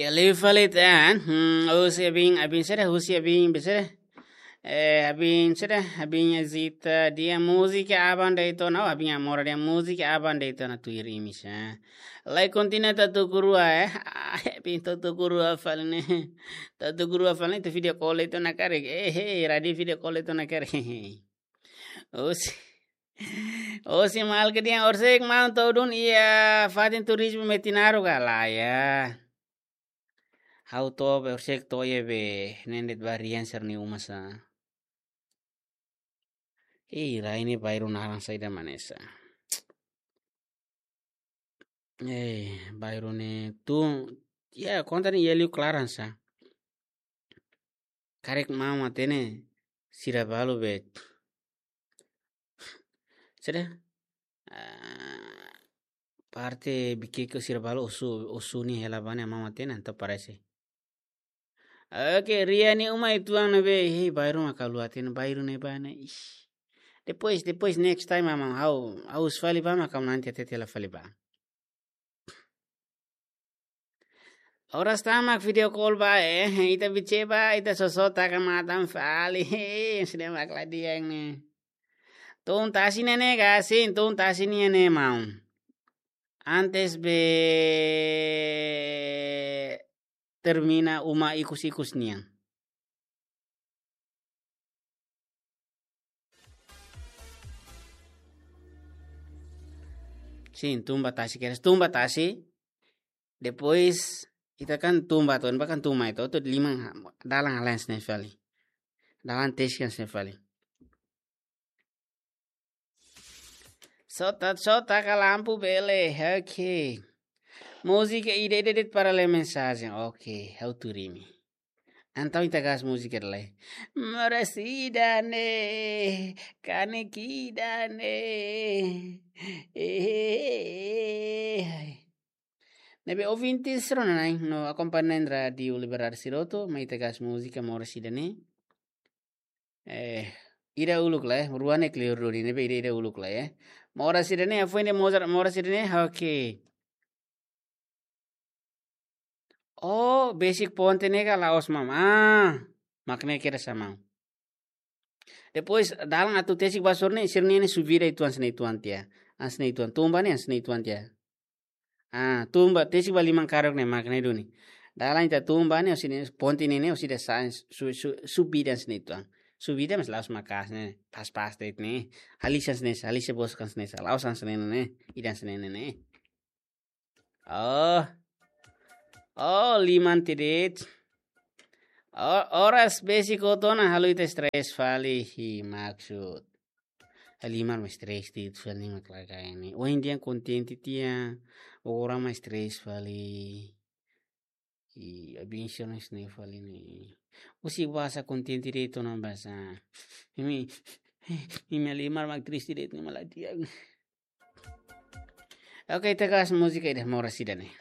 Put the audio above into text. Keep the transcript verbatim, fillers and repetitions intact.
Ele fali tan, hmm, husi abin, abin sira, husi abin, besere. Eh, abin sira, abin azita, dia múzika aban de'it ona, abin amor dia múzika aban de'it ona tuir imi sa. Lai kontinua tau tuku rua, eh. Ah, abin tau tuku rua fali ne'e. Tau tuku rua fali ne'e, ita video call de'it ona karik. Eh, eh, radio video call de'it ona karik. Husi. Husi maluk dehan orsida maun to'o duni iha fatin turizmu Metinaro ka lae. Ha'u to'o be orsida to'o iha be ne'e de'it ba Rian sira-nia uma sa. Ih, rai ne'e bairru naran saida mak ne'e sa. Eh, bairru ne'e tun, ya, konta ne'e iha liu klaran sa. Karik maun hatene sira balu be. Sira, ah, parte Bikeke sira balu osu, osu nia hela ba ne'e maun hatene, entaun parese. Oke, Rian nia uma uitoan ne'ebé, hei, bairru mak ha'u la hatene, bairru ne'ebá ne'e, ish. Depois, depois, next time, maun, ha'u, ha'u husu fali ba mak ha'u nanti hatete hela fali ba. Oras tan mak video call ba, eh, ita bice ba, ita soso taka matan fali, hei, sira mak la di'ak ne'e. Tun tasi ne'e ne'e ka, sin, tun tasi ne'e ne'e maun. Antes be termina uma ikus-ikus nian. Sin, tun ba tasi kedas, tun ba tasi. Depois, ita kan tun ba, tun ba kan tun mai, to, to liman ha-, dalan halens ne'e fali. Dalan teskan ne'e fali. Só tá, só tá com a lampu bele, ok. Múzika ida-ida de'it para ler mensajen, ok, ha'u tuur imi. Entaun ita gás múzika lai. Moras ida-ne'e, kanek ida-ne'e. Eh, eh, eh, eh. Ne'ebé ouvintes rona-na'in no akompaña rádiu Liberdade sira hotu, mai ita gás múzika moras ida-ne'e. Eh, ida uluk lai, rua ne'e kleur duni, ne'ebé ida, ida uluk lai, eh. Moras ida-ne'e, afuende mozar, moras ida-ne'e, oke. Oh, besik ponte ne'e ka la'ós maun. Ah, mak ne'e kedas maun. Depois, dalan atu tesik ba sira-ne'e, sira-ne'e ne'e subida uitoan hanesan ne'e uitoan tiha. Hanesan ne'e uitoan, tun ba ne'e hanesan ne'e uitoan tiha. Ah, tun ba, tesik ba liman karuk ne'e mak ne'e duni. Dalan ita tun ba ne'e, husi ne'e, ponte ne'e ne'e, husi ida sa, su, su, subida hanesan ne'e uitoan. Subida mas la'ós maka'as ne'e, pas-pas de'it ne'e. Halisan hanesan ne'e, halisan boskan hanesan ne'e, la'ós hanesan ne'e ne'e, ida hanesan ne'e ne'e. Oh. Oh, liman tiha de'it. Oh, oras besik hotu ona halo ita stres fali, hi maksud. Liman mak stres tiha de'it fali mak lagai ne'e. Ohin dehan kontente tiha, agora mak stres fali. I abin sira-ne'e fali ne'e. Husik basa kontente de'it ona basa. Imi, imi liman mak triste de'it ne'e mak la di'ak. Oke, ita gás múzika ida moras ida-ne'e.